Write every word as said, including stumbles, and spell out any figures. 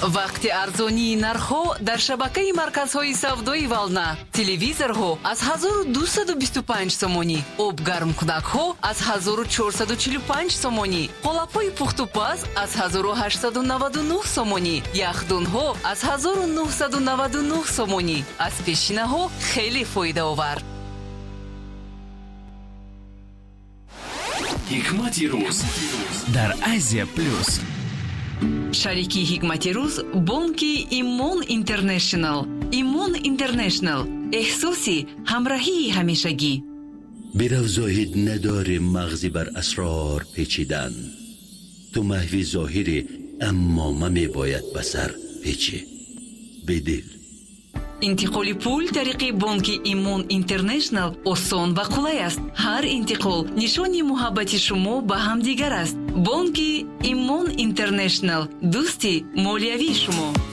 Вақти арзонии нархҳо дар шабакаи марказҳои савдои «Волна»: телевизорҳо аз ҳазору дусаду бисту панҷ сомонӣ, обгармкунакҳо аз ҳазору чорсаду чилу панҷ сомонӣ, қолабҳои пухтупаз аз ҳазору ҳаштсаду наваду нӯҳ сомонӣ, яхдонҳо аз ҳазору нӯҳсаду наваду нӯҳ сомонӣ. Аз пешинаҳо хеле фоидаовар. Ҳикмати рӯз дар Азия Плюс. Шарики Ҳикмати рӯз бонки Имон Интернешнл. Имон Интернешнл, эҳсоси ҳамраҳии ҳамешагӣ. Бирав, зоҳид надорӣ мағзи бар асрор печидан. Ту маҳви зоҳирӣ, аммо ма мебояд ба сар печӣ. Бедил. Интиқоли пул тариқи бонки Имон Интернешнл осон ва қулай аст. Ҳар интиқол нишони муҳаббати шумо ба ҳамдигар аст. Бонки Имон Интернешнл, дӯсти молиявии шумо.